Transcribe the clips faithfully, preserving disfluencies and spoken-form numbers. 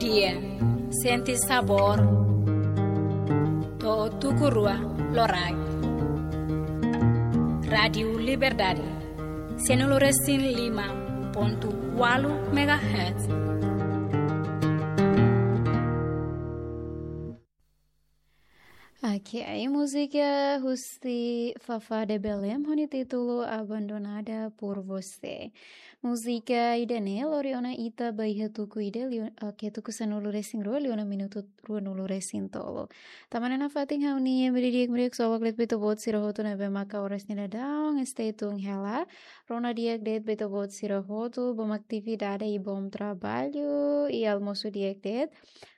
Dia, sente sabór. To'o tuku rua loraik. Rádiu Liberdade, sanulu resin lima pontu ualu megahertz. Oke, ai múzika husi Fafá de Belém, ho nia títulu Abandonada por Você. Múzika ida-ne'e lori ona ita ba iha tuku ida liu, oke, tuku sanulu resin rua liu ona minutu ruanulu resin tolu. Tanba ne'e nafatin ha'u-nia imi di'ak, imi di'ak, só waklet ba ita-boot sira hotu ne'ebé maka oras ne'e daudaun stay tune hela. Rona di'ak de'it ba ita-boot sira hotu, bom atividade i bom trabalho, i almosu di'ak de'it.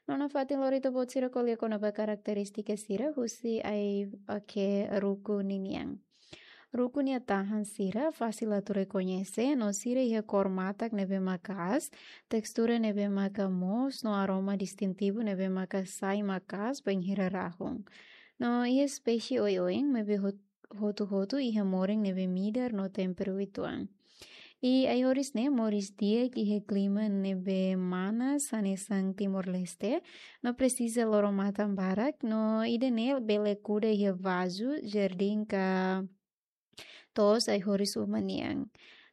No nafatin lori ita-boot sira ko'alia kona-ba karakterístika sira husi ai, oke, ruku ninian. Ruku nia tahan sira fasil atu rekoñese, no sira iha kór matak ne'ebé maka'as, tekstura ne'ebé maka moos, no aroma distintivu ne'ebé maka sai maka'as bainhira rahun. No iha espésie oioin ne'ebé hot-, hotu-hotu iha morin ne'ebé midar no temperu uitoan. I ai-horis ne'e moris di'ak iha klima ne'ebé manas hanesan Timor-Leste, no presiza loro-matan barak, no ida-ne'e bele kuda iha vazu, jardín ka to'os ai-horis uma nian.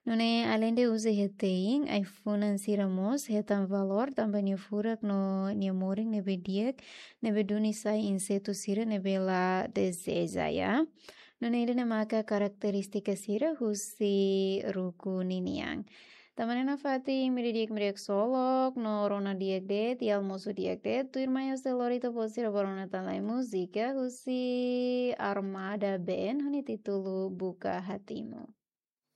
Nune'e aleinde uza iha te'in, ai-funan sira mós hetan valór tanba nia furak no nia morin ne'ebé di'ak, ne'ebé duni sai insetu sira ne'ebé la dezeja, ya. Nune'e ida-ne'e maka karakterístika sira husi ruku ninian. Tanba ne'e nafatin imi di'ak, imi di'ak só lok, no rona di'ak de'it, i almosu di'ak de'it. Tuirmai ha'u sei lori ita-boot sira ba rona tan lai múzika husi Armada Band, ho nia títulu Buka Hatimu.